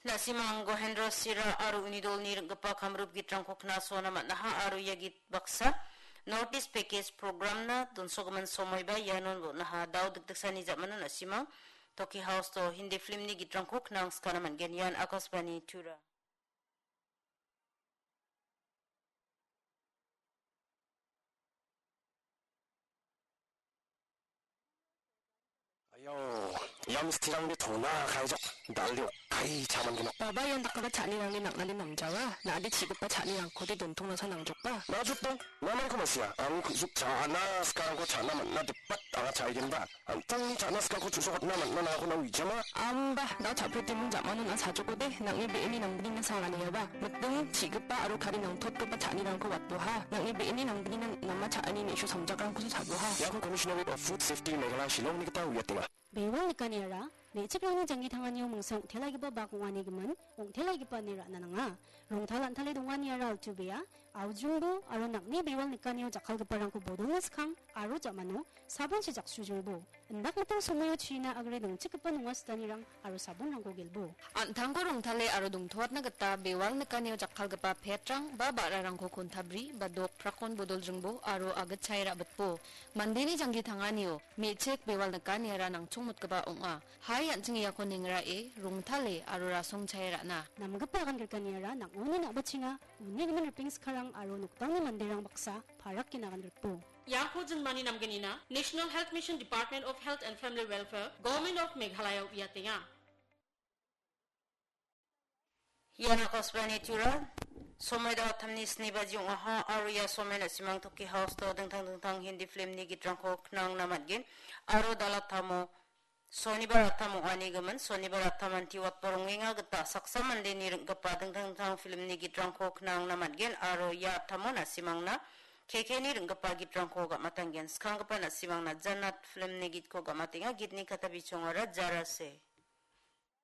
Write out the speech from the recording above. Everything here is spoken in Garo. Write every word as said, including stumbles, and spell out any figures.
Na·simang Gohendra Sira aro uni dolni ring·gipa kamrup gitrangko knasona man·aha aro ia git baksa North East Package Programna donsogimin somoiba ianon bon·aha. Dao dikdiksani ja·mano na·simang Toki House-o Hindi filmni gitrangko knangskana man·gen. Ian Akashvani Tura. Ayo, ia mistirangde tona kaijok, dal·de okai chaman gnok. Baba, ian dakgipa cha·anirangni nang·nade namjawa. Na·ade chi·gipa cha·nirangkode dontongnasa nangjokba. Najotdong, namangko ma·sia. Ang ku·suk cha·ana skarangko cha·na man·na dipat anga cha·igenba. An·tangni cha·na skarko chu·sokatna man·na nangako nang wijama. Amba, da cha·pretimung ja·mano na·a sajokode, nang·ni be·eni nanggnina sanganiaba. Miting, chi·gipa aro kari nangtotgipa cha·nirangko watboha. Nang·ni be·eni nanggnina nama cha·ani me·su samjakrangkosa cha·boha. Iako Commissionerate of Food Safety Meghalaya Shillongni gita uiatenga. Bewal nikaniara, me·chikrangni janggi tanganio mingsa ong·telaigipa bak ong·anigimin, ong·telaigipa ine ra·na nanga. Rongtal an·tale donganiara altu bea, aujingbo aro nang·ni bewal nikanio jakkalgiparangko bodolna skang aro ja·mano sabonchi jaksujingbo. Indakgipa somoio china agre dongchikgipa nonga sitanirang aro sabonrangko gelbo. An·tangko rongtale aro dongtoatna gita bewal nikanio jakkalgipa petrang ba ba·rarangko kontabri ba dok prakon bodoljingbo aro agitchae ra·bitbo. Mandeni janggi tanganio me·chik bewal nikaniara nangchongmotgipa ong·a. Hai an·ching iako nengrae, rongtale aro rasongchae ra·na. Namgipa agan grikaniara nang·oni na·bachenga, unigimin ripeng skarang aro nokdangni manderang baksa parak ginagan grikbo. Iako jinmani namgnina National Health Mission Department of Health and Family Welfare, Government of Meghalaya uiatenga. Ian Akashvani Tura, somoi da·o tamni sni baji ong·aha, aro ia somoi na·simang Toki House-o dingtang dingtang Hindi filmni gitrangko knangna man·gen, aro dal·a tamo Sonibar attam ong·anigimin, Sonibar attamanti watba rongenga gita saksa mandeni ring·gipa dingtang dingtang filmni gitrangko knangna man·gen aro ia attamo na·simangna K K-ni ring·gipa gitrangko gam·atanggen. Skanggipa na·simangna Jannat filmni gitko gam·atenga, gitni kata bichongara Jarase.